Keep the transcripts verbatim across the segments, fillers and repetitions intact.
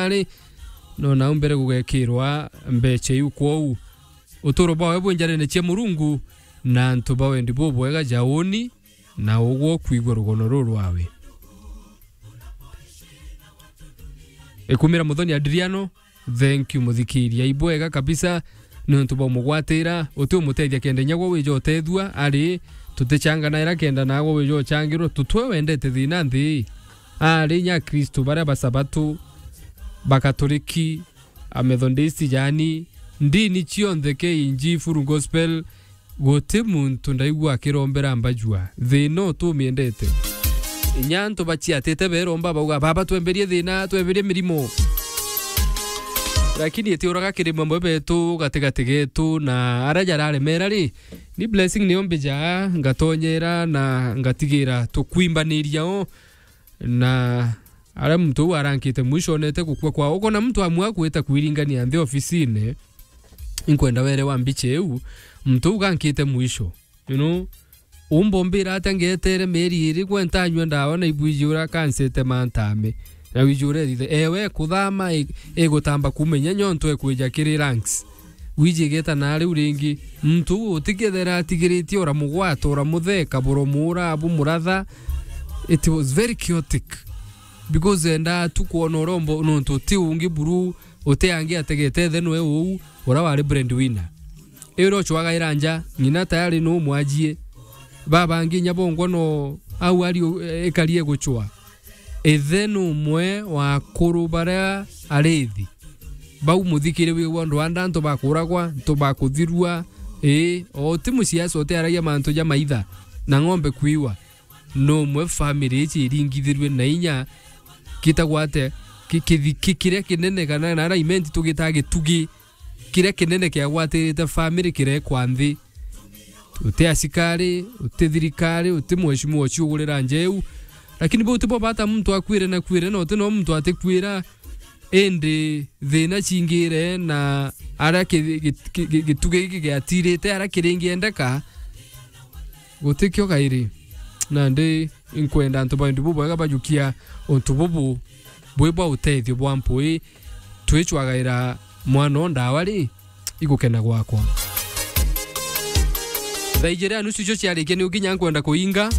ari, no nau mbere gugekirwa mbecha iu. Kwou, uturo bwawe bwi njarene cia Murungu, na antu ba wendi bubwega ja uuni, na ugwe ukwigua rugono ruru rwawe. Ikumira Muthoni Adriano, thank you muthikiria. Ibwega kabisa, niuntu bwa umugwatira, uti umutethia kenda inya gwe wija utethua, ari, tutichanganaira kenda nagwe wija uchangirwa, tutwe wendete thina nthi. Ari inya Akristu baria Basabato, Bakatoriki, Amethodist, yaani, ndini cionthe, K N G, Full Gospel, guti muntu ndaigua akirombera mbajua. Thina utumiendete. Inya antu baciatite beromba bauga, "Baba, twemberie thina, twemberie mirimo." Lakini itiuraga kiri mamwe betu gatigati getu na aria jararemera ri, ni blessing nio mbijaa, ngatonyera na ngatigira tukwimbaniria o. Na aria muntu uu arankite mwisho onete gukua kwao. Ukona muntu amwe akwita kwiringania nthi ofisine, inkwenda were wa mbicha iu, muntu uu gankite mwisho, you know, umbombira atia ngetere mieri iri, gwe ntanyua ndawa na ibwiji uria akansite mantame, na wiji uria ethithe. Ewe kuthama i-, igutamba kumenya nyonto ekwija kiri ranks. Wiji igeta na riu ringi, muntu uu utikethera atigiritie, uramugwata, uramutheka, buromura, bumuratha. It was very chaotic. Because endaa tu kwona urombo, nontu uti ungi buru, uti angi ategete ethe nwe uu, ura wari breadwinner. Iu rio chwagaira nja, ng'ina tayari nu mwajie. Babangi inya bongwa no au ari u-, ikari eguchwa. Ithe ni umwe wa akuru baria arithi. Bau muthikire wigua ndwanda antu bakuragwa, antu bakuthirua. Ii, o ti musiasa utiaragia mantu ja maitha na ng'ombe kwiwa. Ni umwe family ici iringithirue na inya kitagwa atia, ki-, kithi-, ki-, kiria kinene kana na ara imenti tugitaa gitugi. Kiria kinene kiagwatirite family kirekwa nthi. Uti asikari, uti thirikari, uti mheshimiwa uciugurira nja iu. Lakini bau tibo bata muntu akwire na kwire, na uti no muntu atikwira, indi thina cingire na aria ki-, gi-, gi-, gi-, gitugi giki giatirite aria kiringiendeka, gutikio kairi. Nandi inkwenda antu ba wendi bubwega bajukia untu bubu bwi bwa utethio bwa mpui. Twicwagaira mwana o ndawa ri, igukena gwakwa. Thaa ijiri na nusu icio ciarikia, ni ukinya nkwenda kuinga.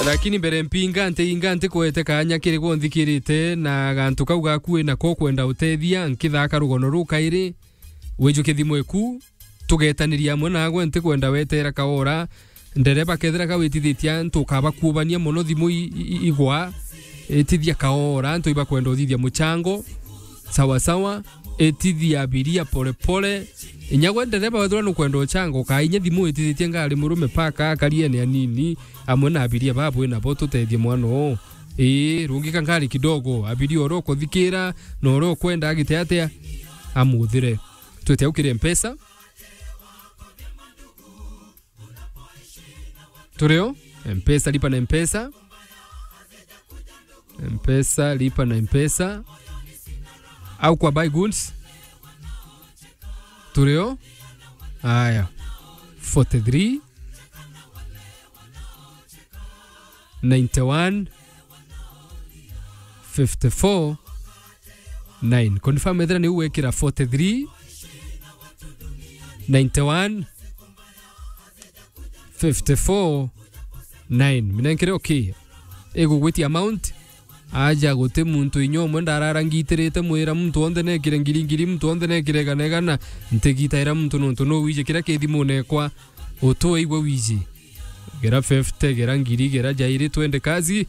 Lakini mbere mpinga, ntiinga, ntikwete kanya kiri gwe unthikirite na gantu kau gaku wina ko kwenda utethia, nkithaka rugono ruu kairi. Wijukie thimu eku, tugetaniria amwe nagwe, ntikwenda wetera kaora. Ndereba kethira kawitithitie antu, ukaba kuubania mono thimu i-, i-, igwa, itithia kaora, antu ibakwenda uthithia muchango. Sawa sawa, itithia abiria pole pole. Inya gwe ndereba wethirwa nukwenda uchango, ukainya thimu itithitie ngari murume paka akariene anini, amwe na abiria babu inabo tutethie mwana oo. Ii, rungika ngari kidogo, abiria uria ukuthikira, na uria ukwenda agite atia, amuthire. Twite au kiri Mpesa. Turio? Mpesa, lipa na Mpesa. Mpesa, lipa na Mpesa. Au kwa buy goods. Turio? Aya. Forty-three, ninety-one, fifty-four, nine. Confirm ethira niu wekira forty-three, ninety-one, fifty-four, nine. Minenkere okay. Igugwitia amount. Aja guti muntu inya umwe ndarara ngitirite mwira muntu wonthe nekire ngiri ngiri, muntu wonthe nekire igana igana. Ntigitaira muntu nontu no wiji kiria ki thimune ekwa. Utu igwe wiji. Gera fifty, gera ngiri, gera jairi, twende kazi.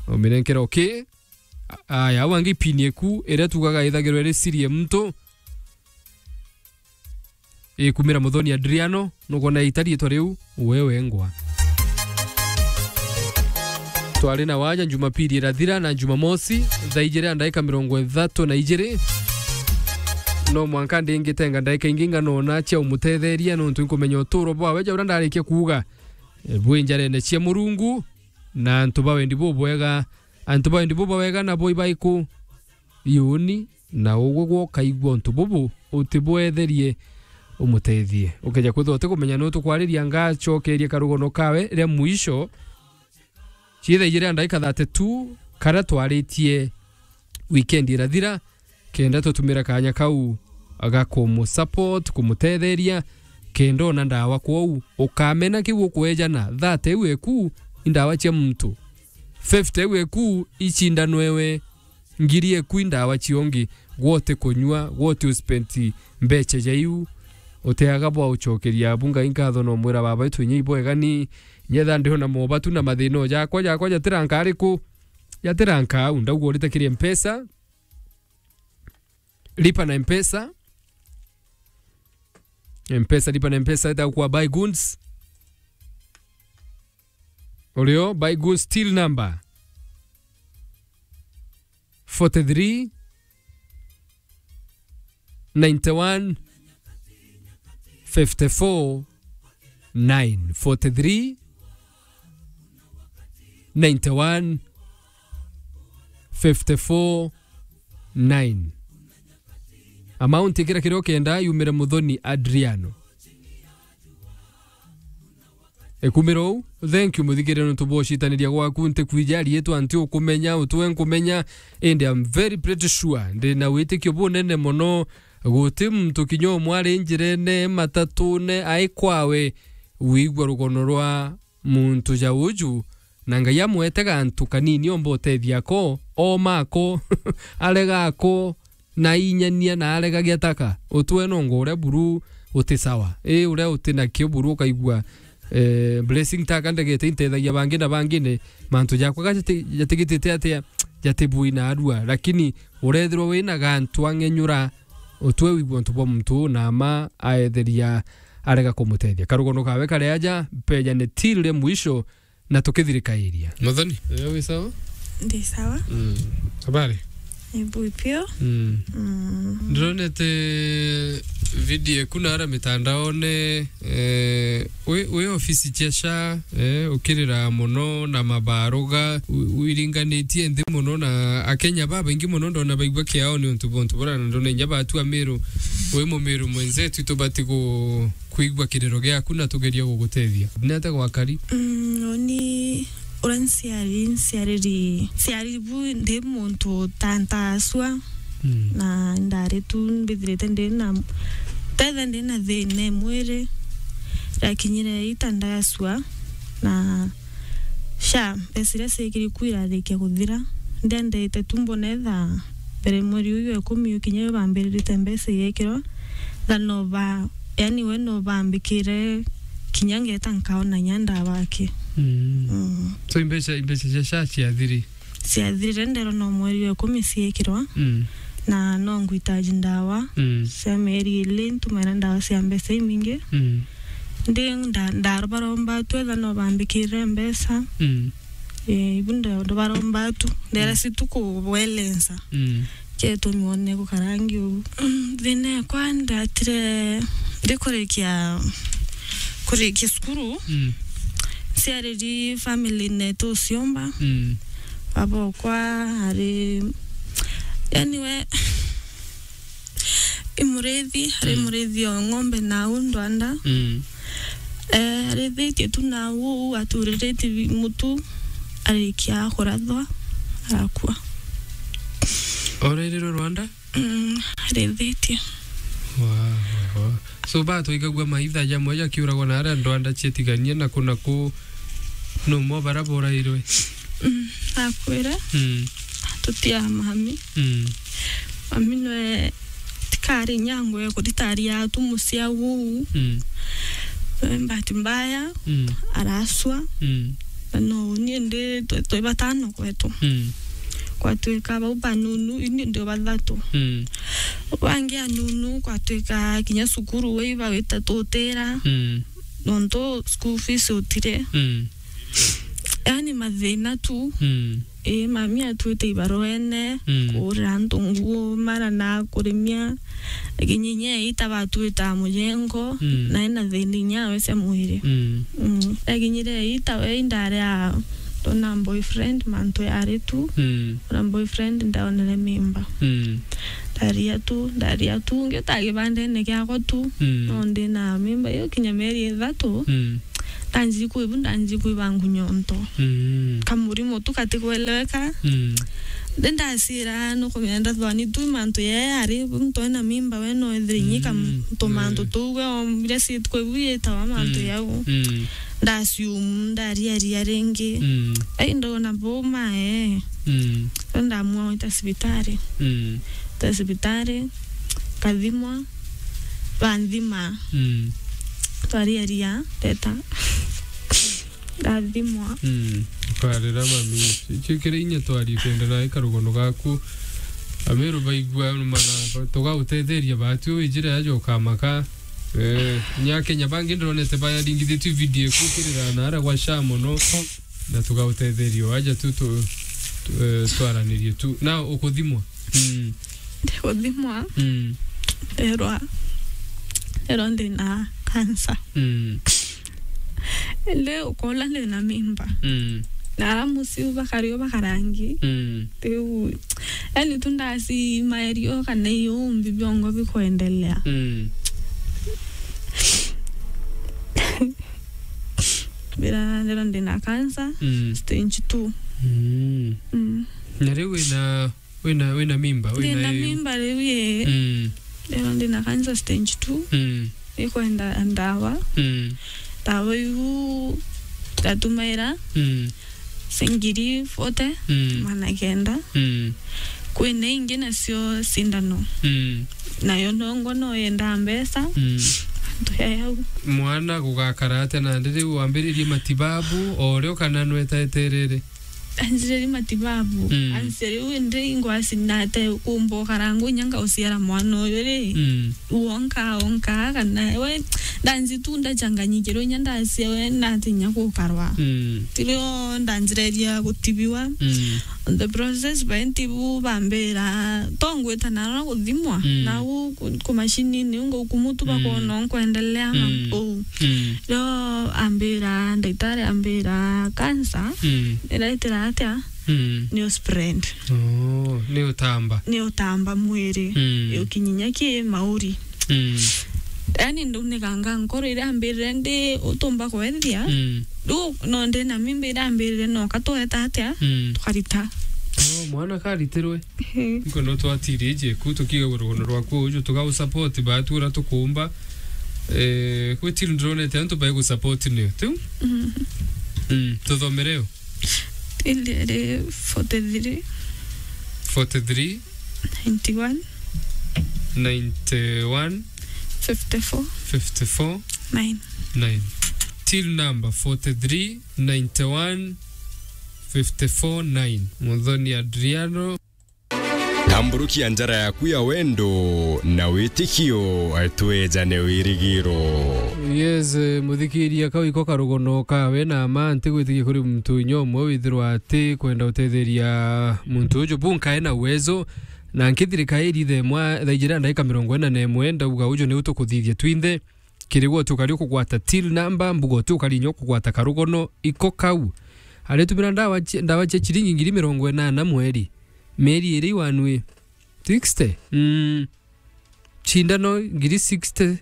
Uminenkere okay. A-, aya, au angi pin eku, iria tugaga ithagirwe iri siri ya muntu. Ikumira Muthoni Adriano, nukwona itariitwa riu, we wengwa. Twari na waja Jumapili irathira na Jumamosi, thaa ijiri na ndaika mirongo ithatu na ijiri. No mwanka ndingitenga ndaika ingi nganona cia umutetheria, nontu inkumenya uturo bwawe ja uria ndarikia kuuga, e, bwi njarene cia Murungu, na antu ba wendi bubwega, antu ba wendi bubwega nabo ibaiku? Iuni, na ugwe gwoka igua untu bubu, utibwetherie, umutethie. Ukeja kwithwa utikumenya nu tukwariria, ngacokeria karugono kawe ria mwisho. Ciitha ijiri na ndagika thirty-two, karia twaritie weekend irathira, kenda tutumire kaanya kau ga kumusupport, kumutetheria, kenda ona ndawa kwou, ukamena kiu ukuejana, thirty iu eku i ndawa cia muntu, fifty iu eku icindanwe we, ngiri eku i ndawa ciongi, gwe utikunyua, gwe uti uspenti mbecha ja iu, utiaga bwa ucokeria abu Ngai nkatho na umwira, Baba wetu, inya ibwega ni nyetha ndiona mobatu na mathina o jakwa, jakwa jatiranka ariku? Jatiranka au, ndauga urite kiri Mpesa, lipa na Mpesa. Mpesa, lipa na Mpesa, ita kwa Buy Goods. Urio, Buy Goods till number forty-three, ninety-one, fifty-four, nine. Forty-three, ninety-one, fifty-four, nine. Amount ikira kiria ukenda yumire Muthoni Adriano. Ekumira uu, thank you muthikirire nontu bwa ucitaniria gwaku. Ntikwija ariitwa, nti ukumenya, utwe nkumenya, indi I'm very pretty sure, ndi na witikio bunene mono, guti muntu kinya umwe ari njirene, matatune, ai kwawe, wigua rugono rwa muntu ja uju, na Ngai amwete gantu kanini omba utethia ako, ooma ako, arega ako, na inyania na arega giataka. Utwe nongo uria buru uti sawa. Ii, uria uti nakio buru ukaigua, eh, blessing taka ndegete intethagia bangi na bangi ni mantu jakwa ga jati-, jatigitite atia, jatibui na arua. Lakini urethirwa wina gantu ang'enyura, utwe wigua untu bwa muntu uu na ama aetheria arega kumutethia. Karugono kawe kari aja, mpejane till mwisho, na tukithirikairia. Muthoni, eh, wi sawa? Ndi sawa. Mm. Habari? Ni bui pio. Mm. Mm. Ndironete video eku na ara mitandaone, eh, wi, wi ofisi cia SHA, eh, ukirira mono na mabaruga, wi-, wiringanitie nthi mono na Akenya babaingi mono ndona baigua kiao ni untu bwa untu bura na ndona inya batua Miru, wi Mumiru mwenzetu, tubati ku-, kwigua kiriro giaku na tugerie gugutethia. Ni atia gwakari? Mm, uni uria nciari, nciariri, nciari bu ndi muntu ta ntasua. Mm. Na ndari tu mbithirite ndi na, tetha ndi na thina e mwiri, ndakinyire ita ndasua, na SHA, mbeca iria ciekiri ku irarikia kuthira. Ndiendete tu mbona etha mbere mweri uyu wa ikumi ukinya yo bambiririte mbeca igekirwa, tha no ba, yani we no bambikire kinya ngeta nkaona inya ndawa aki. Mm. Mm. So imbeca, imbeca cia SHA ciathiri? Ciathirire, nderwa no mweri wa ikumi ciekirwa. Mm. Na no ngwitaji ndawa. Mm. Cia mieri ili ntumira ndawa cia mbeca imingi. Mm. Ndi nda-, ndarobaromba tu etha no bambikirire mbeca. Mm. Eh, ibu ndo, ndobaromba tu. Ndera, mm, si tu kuwelensa. Mm. Ketumi one gukarangi uu. Mm, thina ekwa ndatire ndikurikia, kurikia cukuru. Mm. Nciariri family netu uciomba. Mm. Baba okwa ari, yani we, i murithi, ari, mm, murithi o ng'ombe na au ndwanda. Mm. Eh, arithitie tu na au, aturiritie bi-, mutu, arikia kurathwa, arakua. Orairirwe rwanda? Mm, arithitie. Wa, wa, wa. So, batwaigagua maitha jamwe jakiuragwa na aria ndwanda cietiganie na ku na ku, no mo bara borairwe? Mm, akwire. Mm. Tutia mami. Mm. Mami nwe tikari nyango ya kuritaria tu mucia uu. Mm. Eh, bahati mbaya, mm, araswa. Mm. Na no, ni ndi twe, twe batano kwetu. Mm. Kwatwika bau banunu, ini ndi bathatu. Mm. Bangi anunu, kwatwika kinya cukuru we iba wita tutira. Mm. Nontu school fees utire. Mm. Yani mathina tu. Mm. Ii, mami atwite ibaruene, mm, kuurira antu nguo, mara na kurimia. Lakini inya ita batwita mujengo, mm, na ina thina inya we cia mwiri. Mm. Mm. Akinyire ita we indari a, ndona boyfriend, mantu yari tu. Mm. Na boyfriend ndaonere mimba. Mm. Ndaria tu, ndaria tu, ngiuta kibandene giakwa tu. Mm. No ndina mimba iyo kinya mieri ithatu. Mm. Ndanji kwibu, ndanji kwiba ngunyo nto. Mm. Kamurimo tu katikweleweka. Mm. Ndi ndacira nukumenya ndathwani tu mantu yae ari muntu ena mimba we no ethire inyi kam-, mm, tu mantu, eh, tu we ombire sit kwibu yetawa mantu, mm, yau. Mm. Ndasiumu, ndariaria ringi. Mm. Ai, ndona boma, eh. Mm. Ndamua gwita cibitari. Mm. Gwita cibitari, kathimwa, banthima. Mm. Twariaria, ndeta. Ndathimwa. Mm. Kwarira mami. Icio kiri inya twari twenda na ikarugono gaku. Ameru baigua mana, tugagutetheria batu wijire aja ukamaka. Eh, nya Kenya bangi ndironete bayaringithitue video ikukirira na ara gwa sha mono. Na tugautetherio aja tu, tu, tu, eh, twaranirie tu. Na ukuthimwa. Mm. Ndiguthimwa. Mm. Nderwa, nderwa ndina cancer. Mm. Indi ukola ndina mimba. Mm. Na ara muciu bakario bakarangi. Mm. Riu, yani tu ndasi maerio kana iumbi biongo bikwendelea. Mm. Mbira ndira ndina cancer, mm, stage two. Mm. Mm. Na riu wina, wina, wina mimba, wina ndina mimba riu ye. Mm. Ndira ndina cancer stage two. Mm. Ikwenda ndawa. Mm. Ndawa iu ndatumaira. Mm. Ngiri forty, mm, magana kenda. Mm. Kwina ingi nacio cindano. Mm. Nayo nongo no yendaa mbeca. Mm. Antu ya yau. Mwana gugakara atia nandi riu wambiririe matibabu o rio kana nwetaeterere? Anjiririe matibabu. Mm. Anjiririe riu indi ingwasi nate kumba ukarangwa inya ngauciara mwana uyu ri. Mm. Wonka, wonka, kana we, ndanji tu ndachanganyikirwe inya ndacia we, ndatinya gukarwa. Mm. Tirio ndanjireria gutibiwa. Mm. On the process, baintibu bambira, to ngwita nara guthimwa, mm, nau ku, ku macini niu ngaukumu tu, mm, bakona nkwendelea na, mm, uu. Mm. Rio ambira, ndagitari ambira, cancer, mm, iraitira atia? Mm. Ni uspread. Oh, ni utamba. Ni utamba mwiri. Mm. Ukinyinya ki mauri. Mm. Yani, nduniganga nkoro iria ambirire ndi utumba kwethia. Mm. Riu no ndina mimba iria ambirire no katweta atia? Mm. Tukarita. Oh, mwana karitirwe. Ehe. Nkwenda twatirie jeku tukiga rugono rwaku uju tugau support batu uria tukumba. Eh, kwi till ndironete antu bai gu support ni tu. Mm. Mm, tuthomere yo. Till iri forty-three. Forty-three. Ninety-one. Ninety-one. Fifty-four. Fifty-four. Nine. Nine. Till number forty-three, ninety-one, fifty-four, nine. Muthoni Adriano. Tamburukia njara yaku ya wendo na witikio, twejane wirigiro. Yes, eh, muthikiria, kau iko karugono kawe na ma, ntigwitikia kuri muntu inya umwe withirwa ati kwenda utetheria muntu uju. Bu nkae na uwezo, na nkithirika iri thaa imwe, thaa ijiri na ndagika mirongo ina na imwe, ndauga uju niu tukuthithia twinthe. Kiri gwe utukari ukugwata till number, mbuga utukari inya ukugwata karugono, iko kau. Aritumira ndawa cia, ndawa cia chiringi ngiri mirongo inana mweri. Mieri iri iwanui sixty. Mm. Cindano ngiri sixty,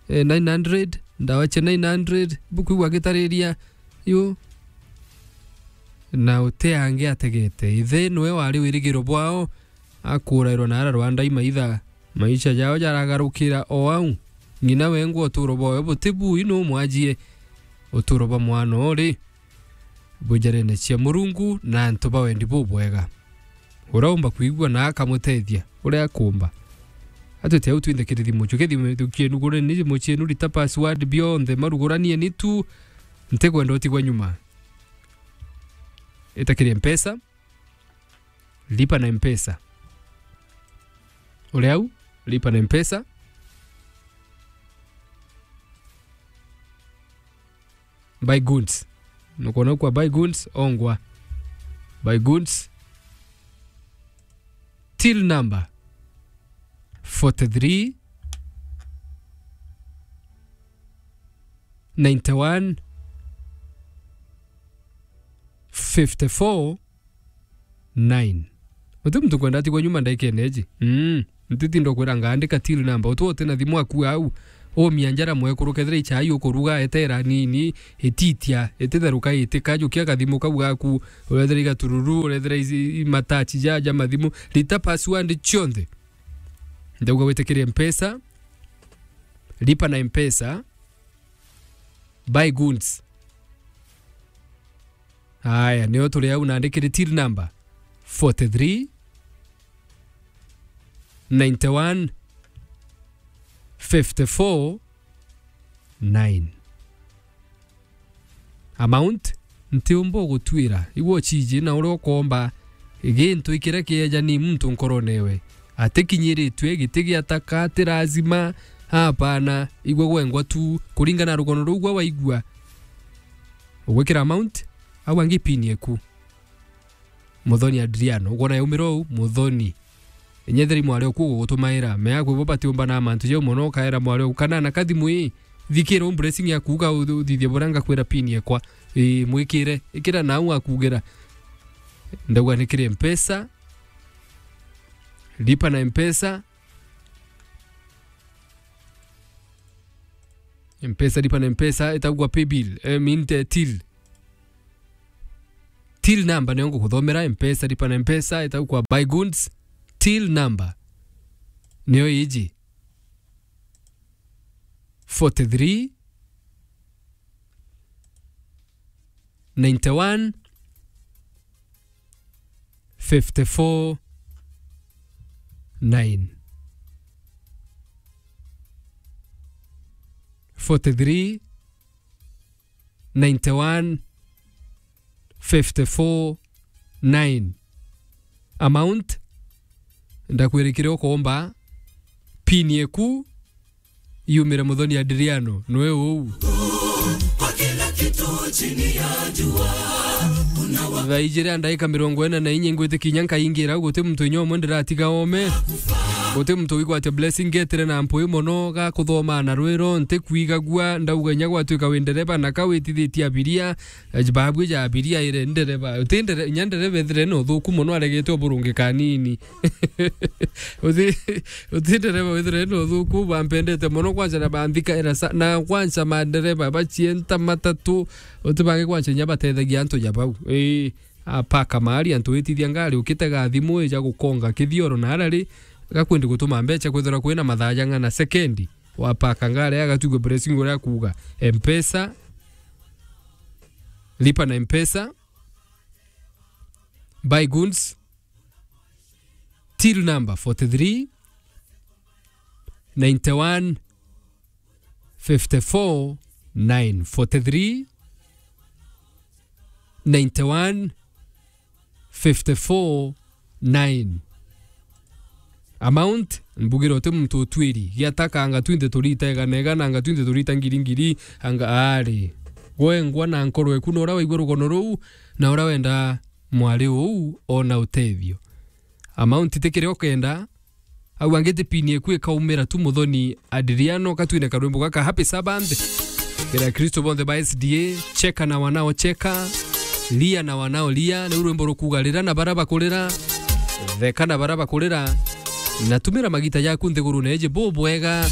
eh, nine hundred, ndawa cia nine hundred, bukwigua gitariria, yu. Na uti angi ategete. Ithe niwe wari wirigiro bwao, akurairwa na ara Rwanda imaitha. Maisha jao jaragarukira o au. Ng'ina wengwa uturo bwawe buti bui numwajie. Uturo bwa mwana uri bujarene cia Murungu na antu ba wendi bubwega. Uraumba kwigua na akamutethia uria akumba. Atwite au twinthe kiri thimu ciu. Kiri thimu cienu, gureni thimu cienu, rita password bionthe, maruguranie ni tu. Ntikwenda utigwa nyuma. Ita kiri Mpesa, lipa na Mpesa. Uri au, lipa na Mpesa. Buy goods. Nukwona kwa buy goods, ongwa. Buy goods. Till number forty-three, ninety-one, fifty-four, nine. Uti muntu kwenda atigwa nyuma ndaikene iji. Mm. Ntitinda kwira ngaandika till number. Utu uti na thimu aku au. Umia njara mwekuru, kethira i chai ukuruga, etera nini, ititia, ititheruka, itika, jukia kathimu kau gaku, urethera igatururu, urethera ici, i matachi ja, ja mathimu, rita password cionthe. Ndauga witikirie Mpesa, lipa na Mpesa, buy goods. Aya, nio turi au, nandikire till number forty-three, ninety-one, fifty-four, nine. Amount, ntiumba gutwira. Igua uchiji na uria ukomba gintu ikiria kieja ni muntu nkorone ewe. Atikinyiritue, giti giataka, ti lazima, hapana, igwe gwengwa tu, kuringana na rugono ruu gwa waigua. Ugwikira amount, au angi pin eku. Muthoni Adriano, ugona yaumira uu, Muthoni. Inyetheri mwari oku gugutumaira, mea kwi bo batiumba na mantu jau mono, ukaera mwari oku, kana na kathimu ii, thikira u blessing yaku, uga u-, uthithie buria ngakwira pin ekwa. Ii, mwikire, ikira nau akugira. Ndauga ni kiri Mpesa, lipa na Mpesa, Mpesa, lipa na Mpesa, itagwa pay bill, eh, mean, eh, till. Till number nio ngukuthomera, Mpesa, lipa na Mpesa, itagwa buy goods, till number. Nio iji. Forty-three, ninety-one, fifty-four, nine. Forty-three, ninety-one, fifty-four, nine. Amount, ndakwirikire ukomba pin eku yumire Muthoni Adriano, nwe uu. Thaa ijiri na ndaika mirongo ina na inya ingwitikinya nkaingira, guti muntu inya umwe ndiratiga ome. Guti muntu wigwate blessing getire na mpui mono ga kuthoma na rwiro, ntikwigagua, ndauga inya gwatuika wi ndereba na ka witithitie abiria, eh, babu ja abiria ire ndereba. Uti ndere-, inya ndereba ethire na uthuku mono aregete uburungi kanini. Uti, uti ndereba wethire na uthuku, bampendete mono kwanza na banthikaira sa-, na kwanza mandereba bacienta matatu, uti bangi kwanza inya batethagia antu ja bau. Ii, apaka mahali antu witithia ngari, ukitega thimu ija gukonga kithioro na arari, gakwendi gutuma mbecha kwithirwa kwina mathaa jang'ana sekendi, wapaka ngari agatugwa blessing uria akuuga. Mpesa, lipa na Mpesa, buy goods, till number forty-three, ninety-one, fifty-four, nine. Forty-three, ninety-one, fifty-four, nine. Amount, mbugire uti muntu utwiri. Giataka anga twinthe turita igana igana, anga twinthe turita ngiri ngiri, anga ari. Gwengwa na nkoro eku na uria waigua rugono ruu, na uria wenda mwari uu ona utethio. Amount ti kiria ukenda, au angi ti pin eku ikaumira tu Muthoni Adriano, katwine karwimbo gaka Happy Sabbath. Kira Kristo bonthe ba S D A, cheka na wanaocheka, lia na wanaolia, ni rwimbo rukuuga rira na bara bakurira, theka na bara bakurira, na tumira magita jaku nthigurune iji bubwega.